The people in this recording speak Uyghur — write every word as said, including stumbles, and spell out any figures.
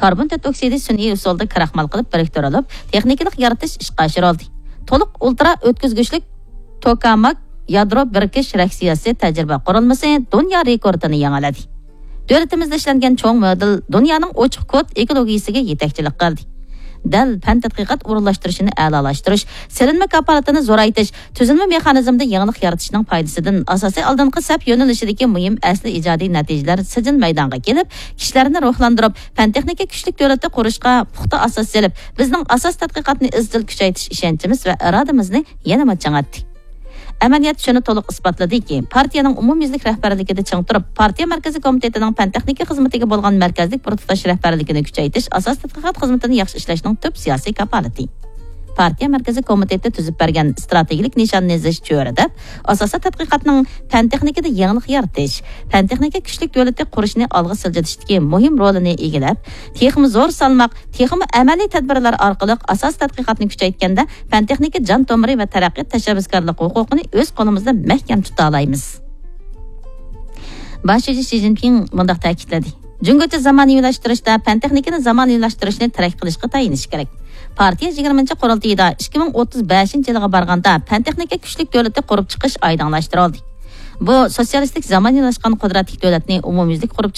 كاربون تۆت ئوكسىدى سۈنئىي ئۇسۇلدا كراخمال قىلىپ بىرىكتۈرۈلۈپ، تېخنىكىلىق يارىتىش ئىشقا ئاشۇرۇلدى. تولۇق ئۇلترا ئۆتكۈزگۈچلۈك توكاماك يادرو بىرىكىش رېئاكسىيەسى تەجرىبە قۇرۇلمىسى دۇنيا رېكورتىنى يېڭىلىدى. دۆلىتىمىزدە ئىشلەنگەن چوڭ مودېل دۇنيانىڭ ئوچۇق كود ئېكولوگىيىسىگە يېتەكچىلىك قىلدى. دەل پەن تەتقىقات ئورۇنلاشتۇرۇشىنى ئەلالاشتۇرۇش، سېلىنما كاپالىتىنى زورايتىش، تۈزۈلمە مېخانىزمىدا يېڭىلىق يارىتىشنىڭ پايدىسىدىن ئاساسىي ئالدىنقى سەپ يۆنىلىشىدىكى مۇھىم ئەسلى ئىجادىي نەتىجىلەر سىجىل مەيدانغا كېلىپ، كىشىلەرنى روھلاندۇرۇپ، پەن تېخنىكا كۈچلۈك دۆلىتى قۇرۇشقا پۇختا ئاساس سېلىپ، بىزنىڭ ئاساس تەتقىقاتنى ئىزچىل كۈچەيتىش ئىشەنچىمىز ۋە ئىرادىمىزنى يەنىمۇ چىڭىتتى. ئەمەلىيەت شۇنى تولۇق ئىسپاتلىدىكى، پارتىيەنىڭ ئومۇميۈزلۈك رەھبەرلىكىدە چىڭ تۇرۇپ، پارتىيە مەركىزىي كومىتېتىنىڭ پەن تېخنىكا خىزمىتىگە بولغان مەركەزلىك بىر تۇتاش رەھبەرلىكىنى كۈچەيتىش ئاساس تەتقىقات خىزمىتىنى ياخشى ئىشلەشنىڭ تۈپ سىياسىي كاپالىتى. پارتىيە مەركىزىي كومىتېتى تۈزۈپ بەرگەن ئىستراتېگىيەلىك نىشاننى زىچ چۆرىدەپ، ئاساسىي تەتقىقاتنىڭ پەن تېخنىكىدا يېڭىلىق يارىتىش، پەن تېخنىكا كۈچلۈك دۆلىتى قۇرۇشنى ئالغا سىلجىتىشتىكى مۇھىم رولىنى ئىگىلەپ، تېخىمۇ زور سالماق، تېخىمۇ ئەمەلىي تەدبىرلەر ئارقىلىق ئاساسىي تەتقىقاتنى كۈچەيتكەندە، پەن تېخنىكا جان تومۇرى ۋە تەرەققىيات تەشەببۇسكارلىق ھوقۇقىنى ئۆز قولىمىزدا مەھكەم تۇتالايمىز. باش شۇجى شى جىنپىڭ مۇنداق تەكىتلىدى: جۇڭگوچە زامانىۋىلاشتۇرۇشتا پەن تېخنىكىنى زامانىۋىلاشتۇرۇشنى تىرەك قىلىشقا تايىنىش كېرەك. پارتىيە يىگىرمىنچى قۇرۇلتىيىدا ئىككى مىڭ ئوتتۇز بەشىنچى يىلىغا بارغاندا پەن تېخنىكا كۈچلۈك دۆلىتى قۇرۇپ چىقىش ئايدىڭلاشتۇرۇلدى. بۇ سوتسىيالىستىك زامانىۋىلاشقان قۇدرەتلىك دۆلەتنى ئومۇميۈزلۈك قۇرۇپ